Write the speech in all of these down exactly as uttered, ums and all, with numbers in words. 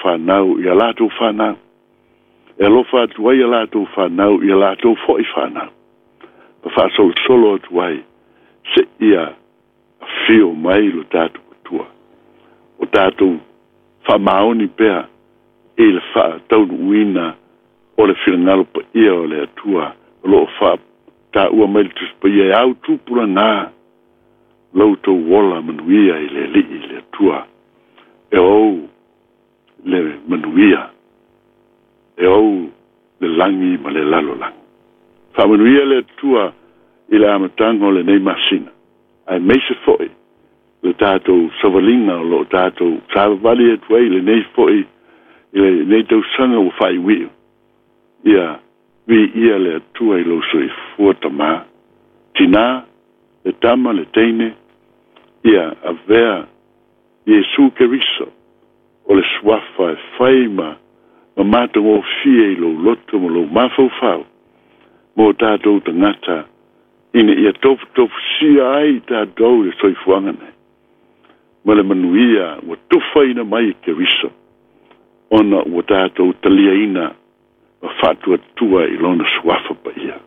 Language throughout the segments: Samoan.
whanau i a latou whanau. E alofa atu ai a latou whanau i a latou fo'i whanau. Ma faasolosolo atu ai seia afio mai lo tatou Atua. O tatou faamaoni pea i le faataunuuina o le finagalo paia o le Atua o loo faataua mai le Tusi Paia e au tupulaga lo outou ola manuia i le Alii le Atua e ou le manuia e ou le lagi ma le lalolagi. Faamanuia le Atua i le amataga o lenei masina, aemaise foi le tatou savaliga o loo tatou savavali atu ai lenei foi i lenei tausaga ua faaiuiu. Ia viia le Atua i lou soifua tamā, tinā, le tama, le teine, ia avea Iesu Keriso o le suafa e fai ma ma matagofie i lou loto ma lou mafaufau mo tatou tagata ina ia tofutofusia ai tatou i le soifuaga nei ma le manuia ua tufaina mai e Keriso ona ua tatou taliaina ma faatuatua i lona suafa paia.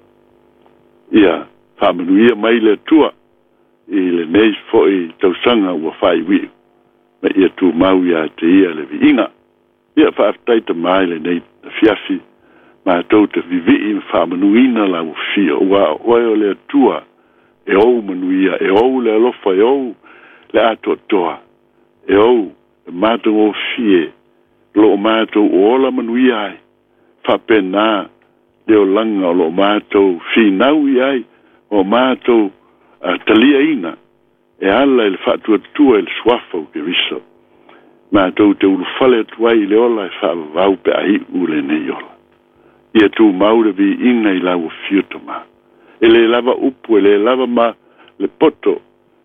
Ia faamanuia mai le Atua i lenei foi tausaga ua faaiuiu ma ia tumau ia te ia le viiga. Ia faafetai tamā i lenei afiafi matou te vivii ma faamanuina lau afio ua oe o le Atua e ou manuia, e ou le alofa, e ou le atoatoa, e ou le matagofie loo matou ola manuia ai faapena le olaga o loo matou finau i ai o matou taliaina e ala i le faatuatua i le suafa o Keriso. Matou te ulufale atu ai i le ola e faavavau pe a iu lenei ola. Ia tumau le viiga i lau afio tamā. E lē lava upu, e lē lava ma le poto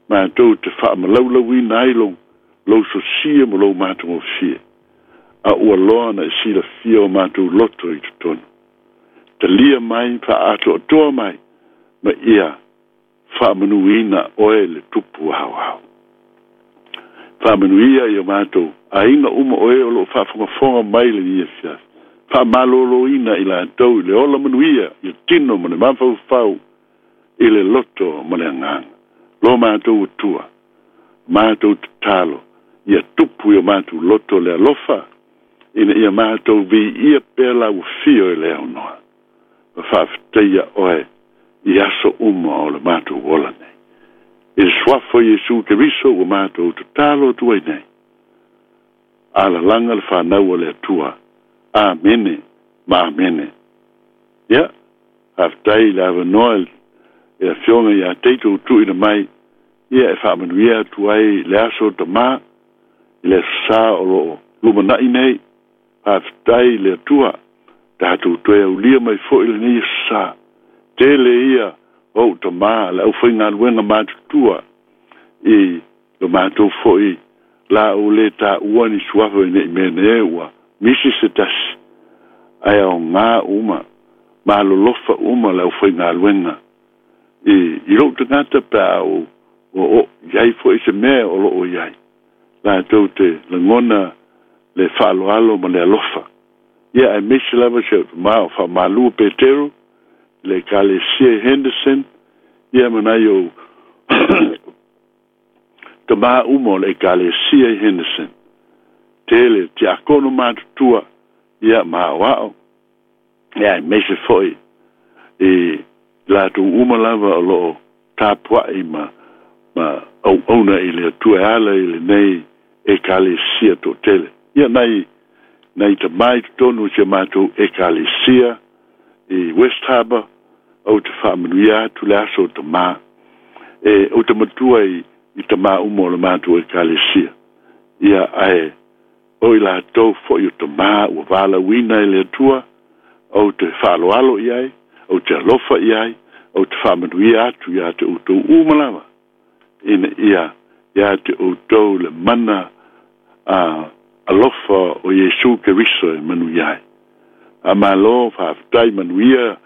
matou te faamalaulauina ai lou lou sosia ma lou matagofie. A ua loa na e silafia o matou loto i totonu. Talia mai, faaatoatoa mai, ma ia faamanuina oe le tupu aoao. Faamanuia i o matou aiga uma o e o loo faafogafoga mai lenei afiafi. Faamalōlōina i latou i le ola manuia i le tino ma le mafaufau i le loto ma le agaga. Lo matou Atua, matou tatalo, ia tupu i o matou loto le alofa, ina ia matou viia pea lau afio e le aunoa. Ma faafetaia oe i aso uma o le matou ola nei. I le suafa o Iesu Keriso ua matou tatalo atu ai nei. Alalaga le fanau o le Atua. Amene ma amene. Ia, faafetai i le avanoa i le afioga ia Teito tuuina mai, ia e faamanuia atu ai le aso tamā i le aso Sa o loo lumanai nei. Faafetai i le Atua, tatou toe aulia mai foi lenei aso Sa. Tele ia ou tamā le aufaigaluega matutua i lo matou foi la ou lē taua ni suafa ina i mea nei ua misi se tasi ae aogā uma malolofa uma le aufaigaluega i i lou tagata pe a o o i ai foi se mea o loo i ai latou te lagona le faaaloalo ma le alofa. Ia aemaise lava si au tamā o Faamalua Petero le Ekalesia Henderson, ia ma nai ou tamā uma o le Ekalesia i Henderson. Tele tiakono matutua, ia ma aoao, ia aemaise foi i latou uma lava o loo tapuai ma ma auauna i le Atua e ala i lenei Ekalesia toatele. Ia nai nai tamā i totonu o si a matou Ekalesia i West Harbour, ou te faamanuia atu le aso o tamā. E ou te matua i i tamā uma o le matou Ekalesia. Ia ae o i latou foi o tamā ua valaauina e le Atua, ou te faaaloalo i ai, ou te alofa i ai, ou te faamanuia atu ia te outou uma lava, ina ia ia te outou le mana a alofa o Iesu Keriso e manuia ai. A malo faafetai manuia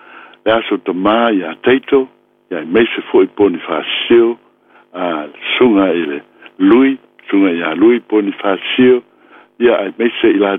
le aso tamā ia Teito, ia aemaise foi Ponifasio, a susuga i le Lui, susuga ia Lui Ponifasio, ia aemaise i latou